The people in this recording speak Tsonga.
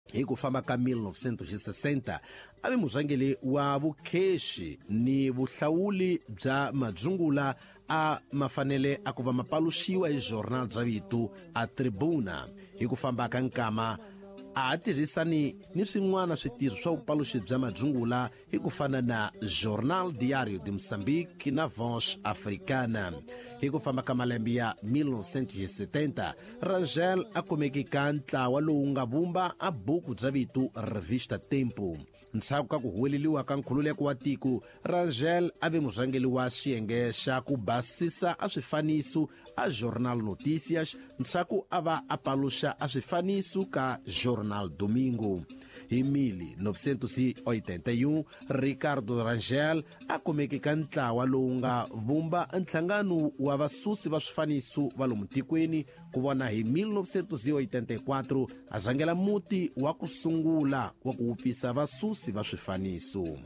Hi ku famba ka 1960 a ve murhangeri wa vukhexi ni vuhlawuli bya madzungula a ma fanele a ku va ma paluxiwa hi jornal bya vito a Tribuna. Hi ku famba ka nkama a ha tirhisani ni swin'wana switirho swa vupaluxi bya madzungula hi ku fana na Jornal Diário de Moçambique na Voz Africana. Hi ku famba ka malembe ya 1970, Rangel a kumeke ka ntlawa lowu nga vumba a buku bya vito Revista Tempo. Ndzhaku ka ku huweleliwa ka nkhululeko wa tiko, Rangel a ve murhangeri wa xiyenge xa ku basisa a swifaniso a Jornal Notícias, ndzhaku a va a paluxa a swifaniso ka Jornal Domingo. Hi 1981, Ricardo Rangel a kumeke ka ntlawa lowu nga vumba nhlangano wa vasusi va swifaniso va lomu tikweni. Ku vona hi 1984 a rhangela muti wa ku sungula wa ku wupfisa vasusi va swifaniso.